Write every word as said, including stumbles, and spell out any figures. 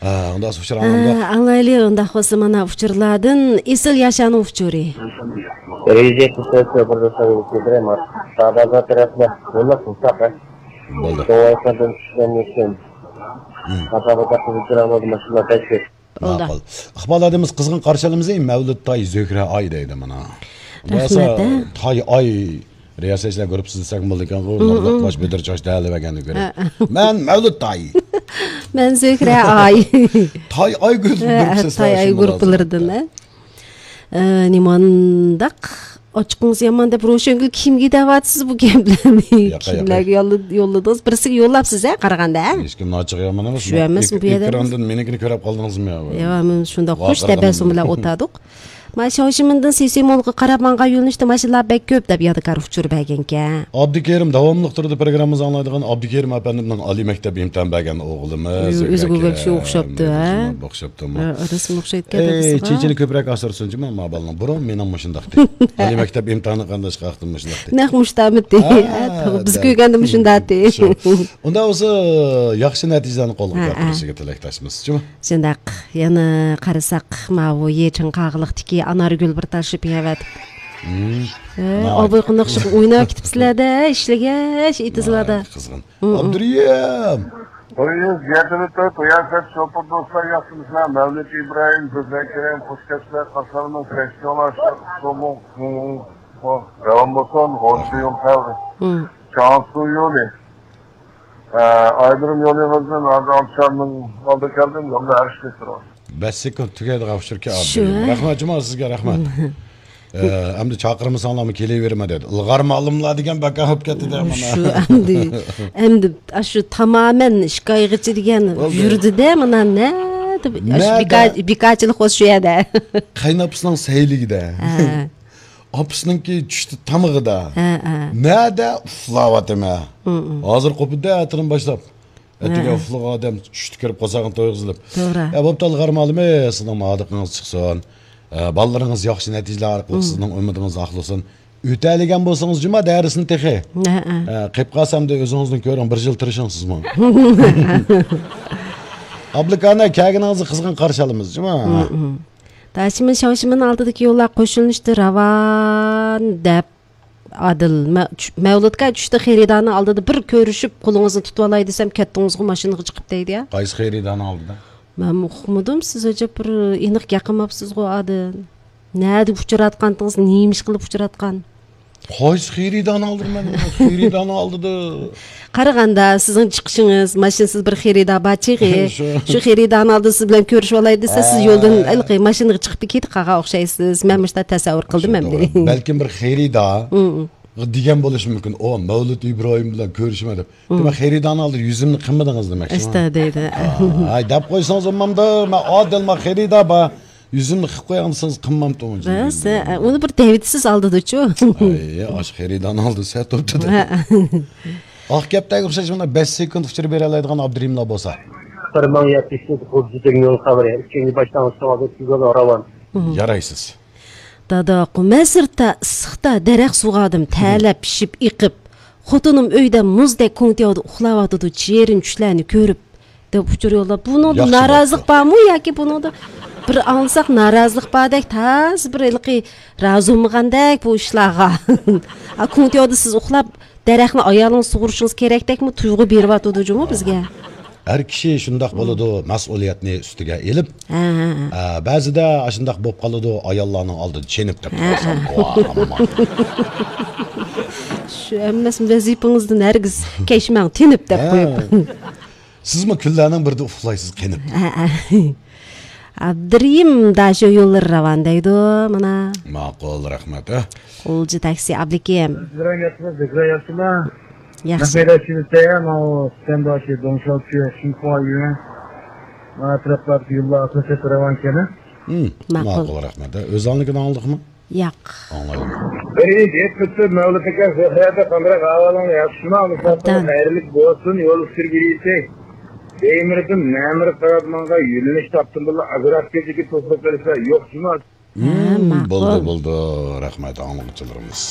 ھە، ئۇنداق ئۇچۇر ئاڭلىدۇق. ئاڭلايلى، ئۇنداق بولسا مانا ئۇچۇرلاردىن ئېسىل ياشانىڭ ئۇچۇرى. رېزىيەتنى سەۋەبچى بىر دەستەگە كېلتۈرەيمۇ؟ سادادا تەرەپلەر بۇنداق قىلساق، ھە؟ بولدى. شۇڭا ئايقاندىن چۈشكەن ئۈچۈن. خاتا بولدى. ماقۇل. ئىقبال ھادىمىز قىزغىن قارشى ئالىمىز، ئەي، مەۋلۇت تاي، زۆھرە ئاي دەيدۇ مانا. رەھمەت، ھە؟ تاي ئاي رىياسەتچىلەر گۇرۇپپىسى دېسەك بولىدىكەنغۇ، مۇرغاق باش بېدىر چاچ دەلىۋەرگەننى كۆرۈپ. ھە. مەن مەۋلۇت تاي. مەن زۆھرە ئاي. تاي ئاي گۇرۇپپىسى تاي ئاي گۇرۇپپىلىرىدىن، ھە؟ ئە، نېمانداق ئاچچىقىڭىز يامان دەپ روشەنگۈل كىمگە دەۋاتىسىز بۇ گەپلەرنى؟ ياقا، ياقا. كىملەرگە يوللا-، يوللىدىڭىز؟ بىرسىگە يوللاپسىز ھە، قارىغاندا، ھە؟ ھېچكىمنىڭ ئاچچىقى يامان ئەمەس. شۇ ئەمەسمۇ بۇ يەردە؟ ئېكراندىن مېنىڭكىنى كۆرۈپ قالدىڭىزمۇ يا؟ يا، مەن شۇنداق خوش تەبەسسۇم بىلەن ئولتۇردۇق. ما شاۋشىمىندىن سېسىمولغا قاراپ ماڭغان يۆنىلىشتە ماشىنىلار بەك كۆپ دەپ يادىكار ئۇچۇر بەرگەنكەن. ئابدۇكېرىم، داۋاملىق تۇردى پروگراممىمىزنى ئاڭلايدىغان ئابدۇكېرىم ئەپەندىمنىڭ ئالىي مەكتەپ ئىمتىھان بەرگەن ئوغلىمىز. ئۆزىگە بەك ئوخشاپتۇ، ھە؟ ئوخشاپتۇ، ھە؟ ئە، رەسىم ئوخشايدىكەن. ئەي، چېچىنى كۆپرەك ئاسرىسۇن جۇما، ما بالىنىڭ. بۇرۇن مېنىڭمۇ شۇنداقتى. ئالىي مەكتەپ ئىمتىھانى قانداش ۋاقتىمۇ شۇنداقتى. نەق مۇشتامىتى. ھە، بىز كۆرگەندىمۇ شۇنداقتى. ئۇنداق بولسا، ياخشى نەتىجىلەرنى قولغا كەلتۈرۈشىگە تىلەكداشمىز جۇما. شۇنداق. يەنە قارىساق، ماۋۇ يېچىڭ قاغىلىقتىكى ئانارگۈل بىر تاشلىپ يەۋەتىپتۇ. ئاباي قانداق شۇ ئويناپ كېتىپسىلەردە، ئىشلىگەچ ئېتىزلاردا. قىزغىن. ئابدۇرېھىم! تويىمىز يەتتىدە تۆت، رىياسەت شوپۇر دوستلار ياخشىمۇسىلەر؟ مەۋلۇت ئىبراھىم، سۆزلەر كېرەم، خوش كەپسىلەر، قارشىلىرىمىز رەشكە ئۇلار، شۇ، شۇ، شۇ، داۋام بولسۇن، غورچۇ يول خەۋىرى، چاڭسۇ يولى، ئە، ئايدۇرۇم يولى غىزدىن، ھازىر ئابشارنىڭ ئالدىغا كەلدىم، يولدا ھەر ئىشنى كۆرۈۋاتىمەن. بەش سېكۇنت تۈگەيدىغان ئۇچۇركەن ئابدۇرېھىم. شۇ، ھە؟ رەھمەت جۇما سىزگە، رەھمەت. ئە، ئەمدى چاقىرمىساڭلارمۇ كېلىۋېرىمەن دېدى. ئىلغار مالىملار دېگەن بەكار بولۇپ كەتتى دە مانا. شۇ ئەمدى، ئەمدى ئاشۇ تامامەن ئىككى ئايغىچە دېگەن يۈردى دە مانا نەدە؟ ئاشۇ بىكارچىلىق بولسا شۇ يەردە. قايناپىسىنىڭ سەيلىگىدە. ھە. ئاپىسىنىڭكى چۈشتى تامىقىدا. ھە، ھە. نەدە ئۇخلاۋاتىمەن. ھازىر قوپىدۇ ئەتىدىن باشلاپ. ئەتىگەن ئۇخلىغان ئادەم چۈشتە كىرىپ قورساقنى تويغۇزۇپ. توغرا. ئە، بوپتۇ، ئىلغار مالىمى، سىزنىڭ مادىقىڭىز چىقسۇن. ئە، بالىلىرىڭىز ياخشى نەتىجىلەر ئارقىلىق سىزنىڭ ئۈمىدىڭىز ئاقلىسۇن. ئۆتەلىگەن بولسىڭىز جۇما دەرسنى تېخى. ھە، ھە. ئە، قېپ قالسا ئەمدى ئۆزىڭىزنى كۆرۈڭ، بىر يىل تىرىشىڭ سىزمۇ. ئابلىكانە، كەلگىنىڭىزنى قىزغىن قارشى ئالىمىز جۇما. داشىمىن شاۋشىمىن ئالدىدىكى يوللار قوشۇلۇشتا راۋان دەپ ئادىل، مە-، چۈ-، مەۋلۇتكا چۈشتە خېرىدارنىڭ ئالدىدا بىر كۆرۈشۈپ، قولىڭىزنى تۇتۇۋالاي دېسەم، كەتتىڭىزغۇ ماشىنىغا چىقىپ دەيدۇ يا. قايسى خېرىدارنىڭ ئالدىدا؟ مەنمۇ ئۇقمىدىم، سىز ئەجەب بىر ئېنىق گەپ قىلماپسىزغۇ ئادىل. نەدە ئۇچراتقانتىڭىز، نېمە ئىش قىلىپ ئۇچراتقان؟ قايسى خېرىدارنىڭ ئالدىدا؟ مەن خېرىدارنىڭ ئالدىدا. قارىغاندا، سىزنىڭ چىقىشىڭىز، ماشىنىسىز بىر خېرىدار بار چېغى. شۇ. شۇ خېرىدارنىڭ ئالدىدا سىز بىلەن كۆرۈشۈۋالاي دېسە، سىز يولدىن ھېلىقى ماشىنىغا چىقىپ كېتىپ قالغان ئوخشايسىز. مەن مۇشۇنداق تەسەۋۋۇر قىلدىم ئەمدى. بەلكىم بىر خېرىدار دېگەن بولۇشى مۇمكىن. ئۇ مەۋلۇت ئىبراھىم بىلەن كۆرۈشىمەن دەپ. دېمەك، خېرىدارنىڭ ئالدىدا يۈزۈمنى قىلمىدىڭىز دېمەكچى. ئىشتا دەيدۇ. ھاي، دەپ قويسىڭىز ئۇمامدا، مەن ئادىل، مەن خېرىدار بار. يۈزۈمنى قىلىپ قويغان دېسىڭىز، قىلمامتىمۇ. راست، ھە، ئۇنى بىر دەۋېتىسىز ئالدىدا چۇ. ھاي، ئاشۇ خېرىدارنىڭ ئالدىدا سەت توپتىدا. ئاق گەپتەك ئوخشاش مانا بەش سېكۇنت ئۇچۇر بېرەلەيدىغان ئابدۇرېھىملار بولسا. بىر مىڭ يەتمىش يەتتە، خۇددى دېگەن يول خەۋىرى، ئۈچىنچى باشلانغۇچ سوئالدا سىزگە راۋان. يارايسىز. دادا، قۇ، مەن سىرتتا ئىسسىقتا دەرەخ سۇغاردىم، تەرلەپ، پىشىپ، ئېقىپ. خوتۇنۇم ئۆيدە مۇزدەك كوڭتياۋدا ئۇخلاۋاتىدۇ، شېرىن چۈشلەرنى كۆرۈپ، دەپ ئۇچۇر يوللاپ. بۇنىڭدا نارازىلىق بارمۇ ياكى بۇنىڭدا بىر ئاڭلىساق نارازىلىق باردەك، تازا بىر ھېلىقى رازى بولمىغاندەك بۇ ئىشلارغا. ئا، كوڭتياۋدا سىز ئۇخلاپ، دەرەخنى ئايالىڭىز سۇغۇرۇشىڭىز كېرەكتەكمۇ تۇيغۇ بېرىۋاتىدۇ جۇمۇ بىزگە. ھەر كىشى شۇنداق بولىدۇ، مەسئۇلىيەتنى ئۈستىگە ئېلىپ. ھە، ھە، ھە. ئە، بەزىدە ئاشۇنداق بولۇپ قالىدۇ، ئاياللارنىڭ ئالدىدا چېنىپ دەپ قالسام، ۋاھ، ئامما. شۇ ئەمەس، ۋەزىپىڭىزدىن ھەرگىز كەچمەڭ، تېنىپ دەپ قويۇپ. سىزمۇ كۈنلەرنىڭ بىرىدە ئۇخلايسىز قېنىپ. ھە، ھە. ئابدۇرېھىم داشۇ يوللىرى راۋان دەيدۇ، مانا. ماقۇل، رەھمەت، ھە. قولجى تاكسى ئابلىكىم. سىلەر ياخشىمۇ، بىزلەر ياخشىمۇ؟ ياخشى. مەن شىۋىستەيە، ماۋۇ سۈتەنداشى، دۇڭشاۋچى، شىنخۇا يۈەن، ماۋۇ ئەتراپلاردىكى يوللار ئاساسىي راۋانكەن. ماقۇل. ماقۇل، رەھمەت. ئۆزۈڭنىڭكىنى ئاڭلىدىڭمۇ؟ ياق. ئاڭلايلى. بىرىنچى، ئېيتىپ ئۆتسە، مەۋلۇت ئاكا، زۆھرەدە قانداق ئەھۋالىڭ، ياخشىمۇ؟ ئوبدان. خەيرلىك بولسۇن، يول ئۈستىگە يېتەي. بەيمىردىن مەمۇرغا قاراپ ماڭغان يۆنىلىش تاپتىم، بۇلار ئاگرافكىدىكى توسۇپ قېلىشلار يوق جۇما. ھە، ماقۇل. بولدى، بولدى. رەھمەت، ئاڭلىغۇچىلىرىمىز.